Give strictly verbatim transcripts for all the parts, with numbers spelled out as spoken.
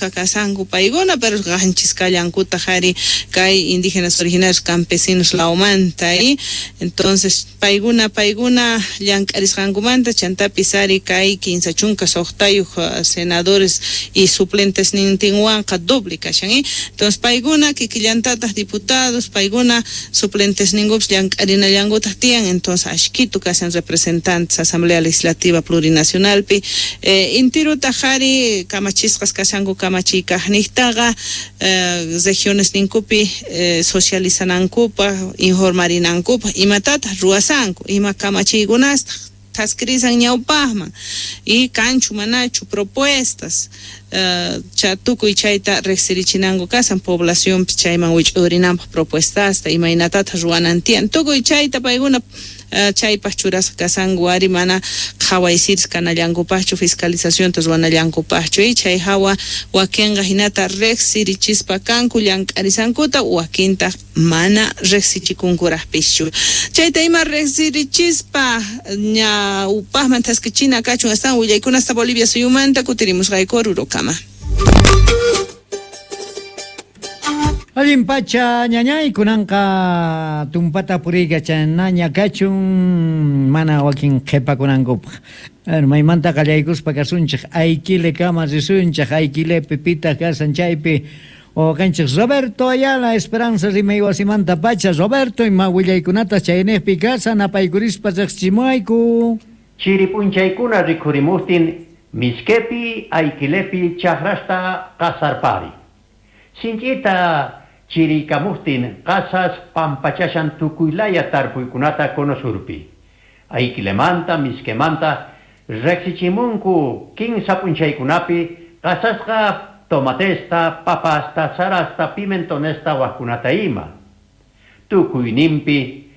chunka kasanku paykuna, pero qanchis kallankutaq ari kay indígenas originarios campesinos lawmanta, y entonces paykuna paykuna llank'arisqankumanta chantapis ari kay kinsa chunka suqtayuq senadores y suplentes nintinwanqa doble kashan, ¿eh? Entonces paykuna kikillantataq diputados, paykuna suplentes ninkupis llank'arinallankutaq tiyan, entonces ashkitu kashan representantes Asamblea Legislativa Plurinacionalpi, eh, intirutaq ari kamachisqas kashanku kamachiykaqniqtaqa, eh, regiones ninkupi, eh, socializanankupaq, informarinankupaq, imatataq ruwasanku, ima kamachiykunastaq thaskirisan ñawpaqman y kanchu manachu propuestas, uh, cha tukuy chayta riqsirichinanku kasan poblacionpi chayman wich'urinanpaq propuestasta imaynatataq ruwanan tiyan tukuy chayta paykuna, uh, chaypaq churasqa kasanku ari mana qhawaysiris kanallankupaqchu fiscalizacionta ruwanallankupaqchu, y chay hawa wakinqa hinata riqsirichispa kanku llank'arisankuta, wakintaq mana riqsichikunkuraqpischu. Chayta ima riqsirichispa ñawpaqman thaskichina kachun astawan willaykunasta Bolivia suyumanta kutirimusqayku Orurokama. Allin pacha ñañay kunanqa tumpata puriykachanaña kachun mana wakin qhipakunankupaq. Maymanta qallaykuspa kasunchik Ayquilekama risunchik Ayquilepi pitaq kasan chaypi wawqinchik Roberto Ayala Esperanza rimay wasimanta pacha. Roberto, ima willaykunata chayniqpi kasan apaykurispa riqsichimuwayku. Chiri p'unchaykuna rikhurimuqtin Mishkepi Ayquilepi chakrasta qasarpari. Sinch'ita chiriykamuqtin qasas pampachashan tukuylaya tarpuykunata konosurpi. Ayquilemanta, Mishkemanta riqsichimunku kinsa p'unchaykunapi qasasqa tomatesta, papasta, sarasta, pimentonesta waqkunata ima. Tukuyninpi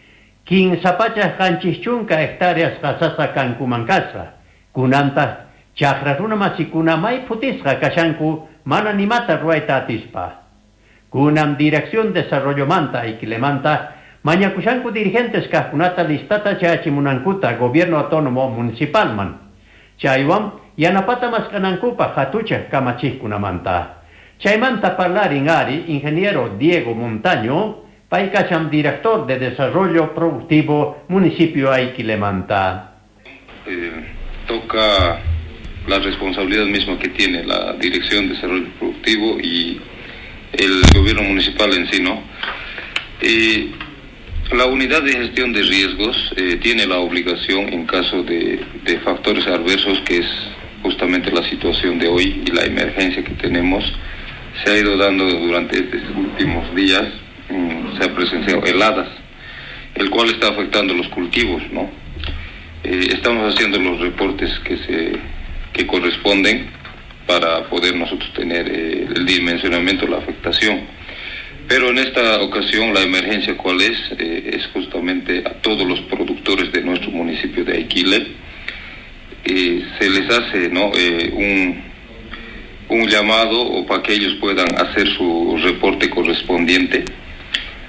kinsa pachak qanchis chunka hectáreas qasasqa kankuman kasqa. Kunantaq chakra runa masikuna may phutisqa kashanku mana nimata ruwayta atispa. Kunan Dirección Desarrollomanta Ayquilemanta mañakushanku dirigentes kaqkunata listata chayachimunankuta Gobierno Autónomo Municipalman. Chaywan yanapata mask'anankupaq hatuchaq kamachiqkunamanta. Chaymanta parlarin ari ingeniero Diego Montaño, pay kashan director de Desarrollo Productivo Municipio Ayquilemanta. Eh, toca la responsabilidad misma que tiene la Dirección de Desarrollo Productivo y el gobierno municipal en sí, ¿no? Eh, la unidad de gestión de riesgos eh, tiene la obligación en caso de, de factores adversos, que es justamente la situación de hoy y la emergencia que tenemos, se ha ido dando durante estos últimos días, mmm, se ha presenciado heladas, el cual está afectando los cultivos, ¿no? Eh, estamos haciendo los reportes que se que corresponden para poder nosotros tener eh, el dimensionamiento de la afectación. Pero en esta ocasión la emergencia cuál es, eh, es justamente a todos los productores de nuestro municipio de Aiquile. Eh, se les hace, ¿no?, eh, un, un llamado o para que ellos puedan hacer su reporte correspondiente.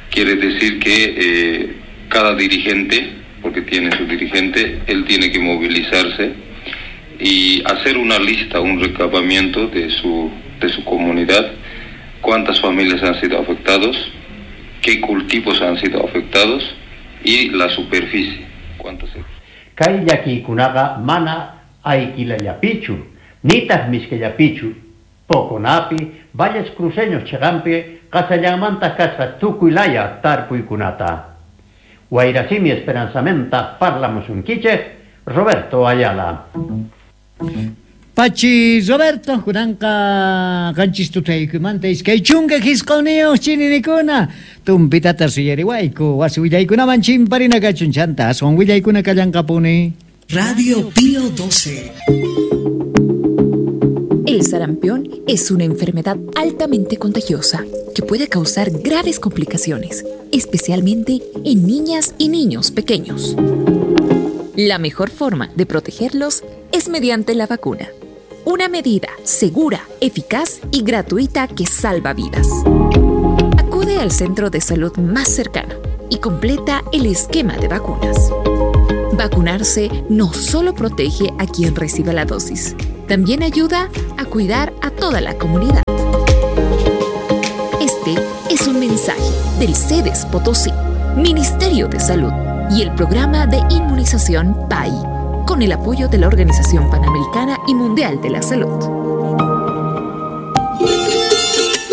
Quiere decir que eh, cada dirigente, porque tiene su dirigente, él tiene que movilizarse y hacer una lista, un recabamiento de su, de su comunidad, cuántas familias han sido afectados, qué cultivos han sido afectados y la superficie, cuántas. Kay llakiykunaqa mana Ayquilallapichu, nitaq Mishkellapichu, Poconapi, Valles Cruceños chiqanpi qasallanmanta kasqa tukuylaya tarpuykunata. Wayrasimi Esperanzamanta parlamusunkichik Roberto Ayala. Pachi Roberto, kunanqa qanchis tutaykumanta iskay chunka hisquniyuq chininikuna tumpitata suyariwayku wasi willaykunaman chimparina kachun chanta aswan willaykuna kallanqapuni. Radio Pío doce. El sarampión es una enfermedad altamente contagiosa que puede causar graves complicaciones, especialmente en niñas y niños pequeños. La mejor forma de protegerlos es mediante la vacuna. Una medida segura, eficaz y gratuita que salva vidas. Acude al centro de salud más cercano y completa el esquema de vacunas. Vacunarse no solo protege a quien reciba la dosis, También ayuda a cuidar a toda la comunidad. Este es un mensaje del Sedes Potosí, Ministerio de Salud y el Programa de Inmunización P A I, con el apoyo de la Organización Panamericana y Mundial de la Salud.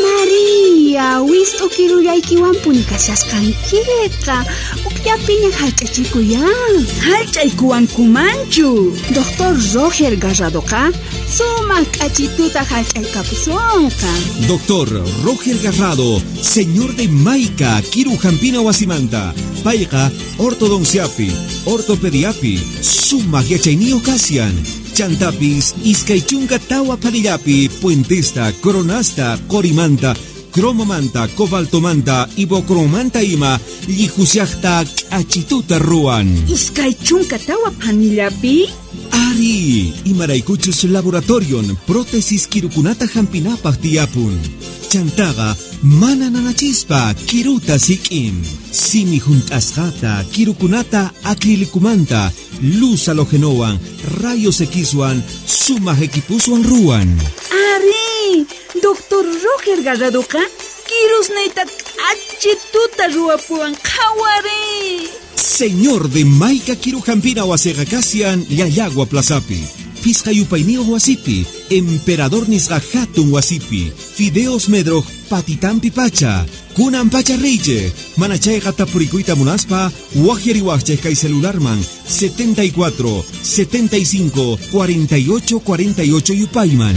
María, wist'u kirullaykiwanpuni kashasqankiqa, ukllapiña hallch'achikuyan. Hallch'aykuwankumanchu. Doctor Roger Garradoqa sumaq k'achituta hallch'aykapusunqa. Doctor Roger Garrado, señor de Maica, Kiru Jampina Wasimanta, payqa ortodonciapi, ortopediapi, sumaq yachayniyuq kasian. Chantapis, iskay chunka tawa panillapi, puentesta, coronasta, corimanta, cromomanta, cobaltomanta, ibocromanta ima, llihushaqta k'achituta ruwan. Iskay chunka tawa panillapi? Ari, imaraykuchus laboratorion, prótesis kirukunata hampinapaq tiyapun. Chantaqa mana nanachispa kiruta sik'in. Simi hunt'asqata, kirukunata acrilicumanta, luz halogenowan, rayos Xwan, sumaq equipuswan ruwan. Ari, Doctor Roger Garradoqa kirusniyta k'achituta ruwapuwan qhawari. Señor de Maica Kirujampina wasiqa kasian Llallagua Plazapi, Pisqa yupayniyuq wasipi, Emperador nisqa hatun wasipi, Fideos Medroj patitampi pacha, kunan pacha reyche, mana chayqa tapurikuyta munaspa, waqyariwaqchik kay celularman setenta y cuatro, setenta y cinco, cuarenta y ocho, cuarenta y ocho yupayman.